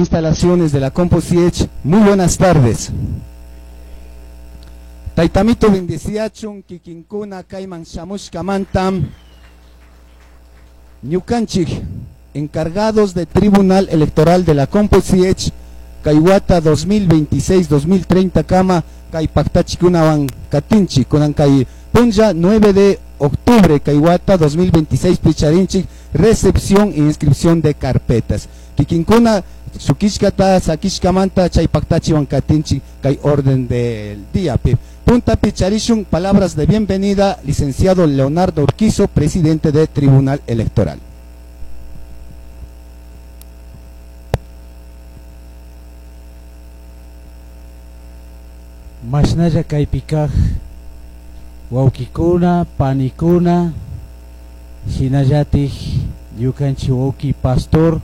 Instalaciones de la Composiech. Muy buenas tardes. Taytamito bendeciachun kikinkuna kayman shamushkamantam ñukanchik encargados de Tribunal Electoral de la Composiech kay wata 2026-2030 kama kay paktachikunawan katinchik kunan kay punlla 9 de octubre kay wata 2026 picharinchik recepción e inscripción de carpetas kikinkuna shukishkata sakishkamanta chay paktachiwan katinchik kay orden del día pi. Punta picharishun, palabras de bienvenida, licenciado Leonardo Urquizo, presidente de Tribunal Electoral. Mashnalla kaypikaj wawkikuna, panikuna, shinallatik ñukanchik wawki pastor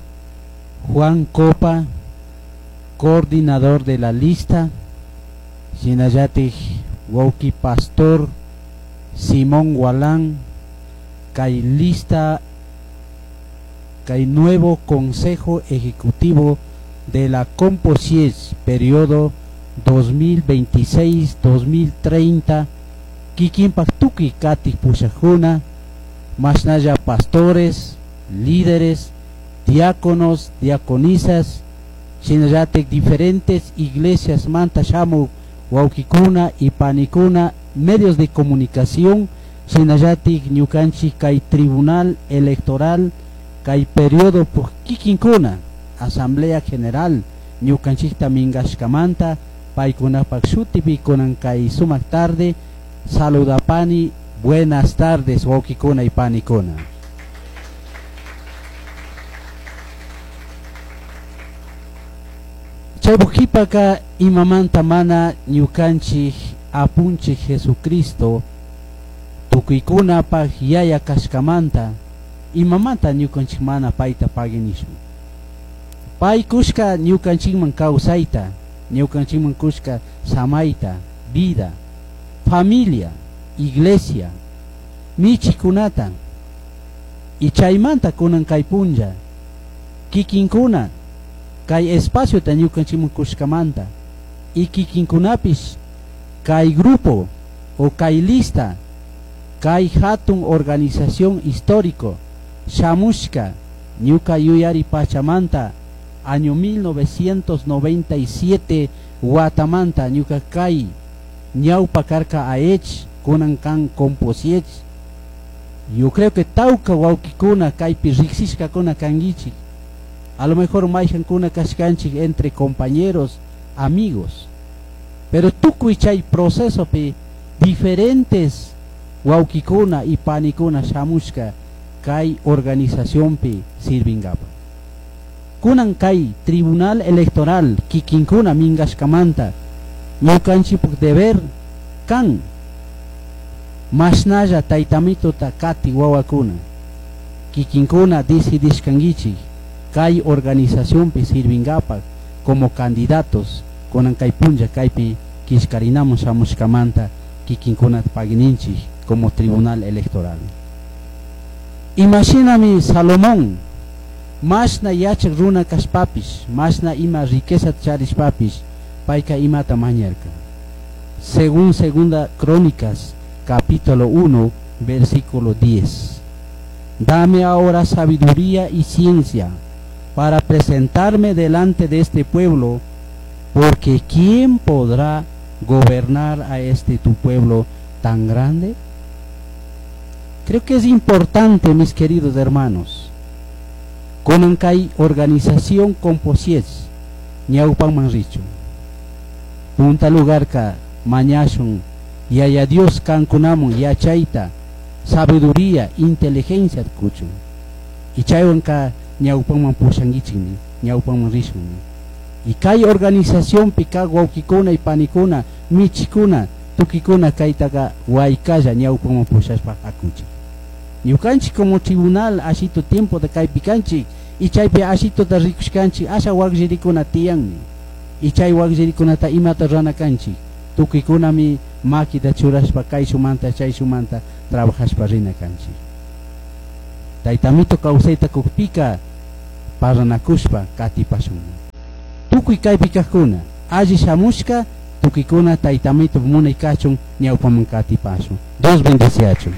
Juan Copa, coordinador de la lista, shinallatik wawki pastor Simón Gualán, kay lista, kay nuevo Consejo Ejecutivo de la Composies, periodo 2026-2030, kikinpak tukuy katik pushakuna, mashnalla pastores, líderes, diáconos, diaconisas, shinallatik diferentes iglesias manta shamuk wawkikuna y panikuna, medios de comunicación, shinallatik ñukanchik kay Tribunal Electoral, kay periodo por kikinkuna, Asamblea General, ñukanchikta minkashkamanta, paykunapak shutipi kunan kay sumak tarde, saludapani, buenas tardes wawkikuna y panikuna. Chaypukipaka imamanta mana ñukanchik apunchik Jesucristo tukuykunapak yaya kashkamanta imamanta ñukanchik mana payta paginishun. Pay kushka ñukanchikman kawsayta, ñukanchikman kushka samayta, vida, familia, iglesia, michikunata, y chaymanta kunan kay punlla, kikinkuna, kay espaciota ñukanchikman kushkamanta, y kikinkunapish kay grupo o kay lista, kay hatun organización histórico, shamushka, ñuka yuyari pachamanta, año 1997 watamanta ñuka kay ñawpa karka aech kunan kan Composiech. Yo creo que tawka wawkikuna kaypi riksishkakuna kankichik, a lo mejor mayhankuna kashkanchik entre compañeros, amigos, pero tukuy chay procesopi diferentes wawkikuna y panikuna shamushka kay organizacionpi sirvingapa. Kunan kay Tribunal Electoral kikinkuna minkashkamanta ñukanchikpuk deber kan mashnalla taytamituta kati wawakuna kikinkuna decidishkankichik kay organizacionpi sirvingapak como candidatos kunan kay punlla kaypi killkarinamun shamushkamanta kikinkuna pagininchik como Tribunal Electoral. Imashinami Salomón mashna yachak runa kashpapish, mashna ima riqueza charishpapish, payka imata mañarka. Según Segunda Crónicas, capítulo 1, versículo 10. Dame ahora sabiduría y ciencia para presentarme delante de este pueblo, porque ¿quién podrá gobernar a este tu pueblo tan grande? Creo que es importante, mis queridos hermanos, kunan kay organización Composies, ñawpanman richu. Punta lugar ka mañashun, yaya Dios kankunamun yachayta, sabiduría, inteligencia kuchun. Y chaywan ka ñawpanman pushankichikmi, ñawpanman rishunmi. Y kay organización pika wawkikuna y panikuna, michikuna, tukikuna kaytaka waykalla ñawpanman pushashpa hakuchik. Ñukanchik como tribunal ashito tiempo de kaypikanchik, y chaypi ashitota rikushkanchik, asha wakllirikuna tiyanmi. Y chay wakllirikunata imata rurana kanchik, tukuykunami makita churashpa kayshumanta chayshumanta trabajashpa rina kanchik. Taytamito kawsayta kukpika paranakushpa katipashun. Tukuy kaypi kaqkuna alli shamushka tukuykuna taytamito munay kachun ñawpaman katipashun. Dios bendeciachun.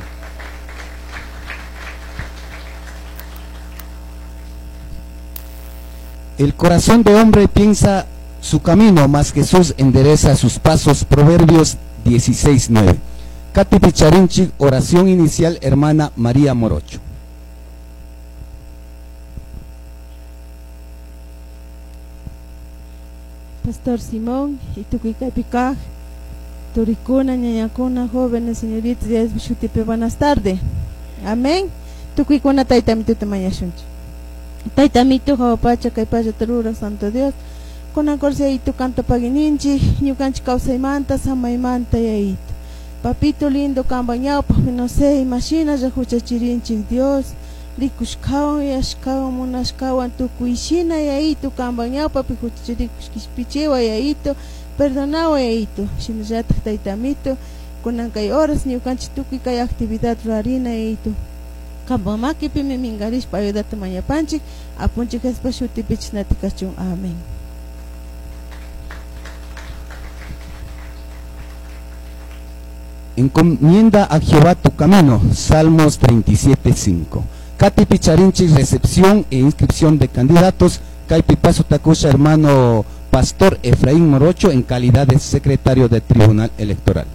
El corazón de hombre piensa su camino, mas Jesús endereza sus pasos. Proverbios 16:9. Katy Picharinchi, oración inicial, hermana María Morocho. Pastor Simón y tukuy kaypi turikuna, ñañakuna, jóvenes, señoritas, shutipi, buenas tardes. Amén. Tukuykuna taytamituta mañashunchik. Taytamito hawa pacha kay pachata ruraq Santo Dios. Kunan corsi yayito kanta paguininchik, ñukanchik kawsaymanta, samaymanta yayito. Papito lindo kanpa ñawpaqpi no sé, imashinalla huchachirinchik Dios. Rikushkawan, yuyashkawan, munashkawan tukuyshina yayito kanpa ñawpapi huchachirikush kishpichiwa yayito, perdonawa yayito. Shinallatak taytamito, kunan kay horas ñukanchik tukuy kay actividad rurarina yayito. Kanpa makipimi minkarishpa ayudata mañapanchik, apunchik Jesuspa shutipi chashnati kachun. Amén. Encomienda a Jehová tu camino. Salmos 37:5. Katy Picharinchi, recepción e inscripción de candidatos. Kaypi paso takusha, hermano Pastor Efraín Morocho, en calidad de secretario del Tribunal Electoral.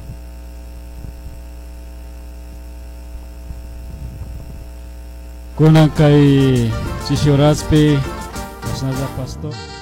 Kunan kay Chishoraspi, pastor.